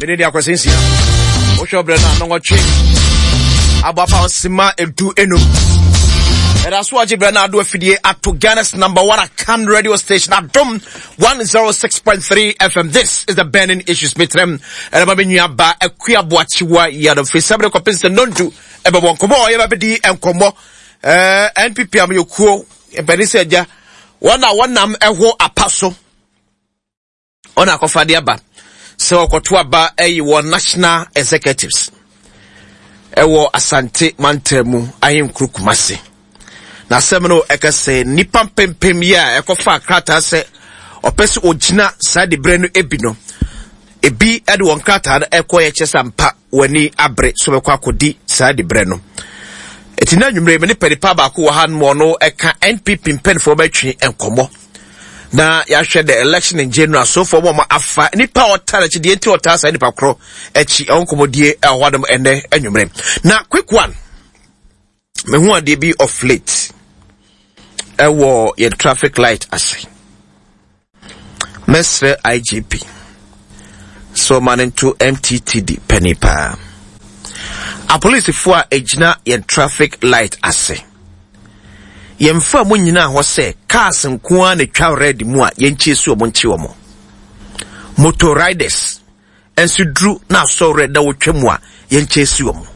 Mede de akwasi nsia. Wohwɛ ɔbrɛ no a nɔnwɔtwe abɔ apa nsema 15. Ɛda so agye brɛ no ado afidie ato Ghana's number one Akan radio station Adom 106.3 FM. This is the burning issues. Metrem ɛna ma me nua ba akua boakyewa yadom firi sɛ bere kɔpem sɛ nondu ɛbɛbɔ nkɔmmɔ a yɛba bɛdi nkɔmmɔ NPP amanyɔkuo mpanin sɛ agya wɔn a wɔnam ɛho apa so wɔn akɔfa de aba sɛ wɔkɔto aba ɛyi wɔ national executives ɛwɔ Asante mantam mu ahenkuro Kumase. Na asɛm no ɛka sɛ nnipa mpempem yi a ɛkɔfa krataa sɛ ɔpɛ sɛ ɔgyina saa diberɛ no ebi no ebi de wɔn krataa no ɛkɔ yɛ kyɛ sɛ ampa wɔn ani abere so bɛkɔ akɔdi saa diberɛ no. Eti na anwummerɛ me ne panipa baako wɔ ha nom ɔno ɛka NPP mpanimfoɔ bɛtwe nkɔmmɔ na yɛahwɛ the election in general so far wɔn afa nipa a ɔtaa n'akyi deɛ nti ɔtaa saa nipa korɔ akyi ɛwɔ nkɔmmɔdie ɛwɔ hɔ nom ɛnɛ anwummerɛ. Na quick one. Mehu adeɛ bi of late ɛwɔ yɛn traffic light ase. Mɛsrɛ IGP sɛ ɔma no nto MTTD panin paa. Apolisifoɔ a ɛgyina yɛn traffic light ase. Yɛmfa mu nyinaa hɔ sɛ cars nko ara na ɛtwa red mu a yɛnkyie so wɔn nkye wɔn. Motor riders nso duru na asɔ red na wɔtwa mu a yɛnkyie si wɔn.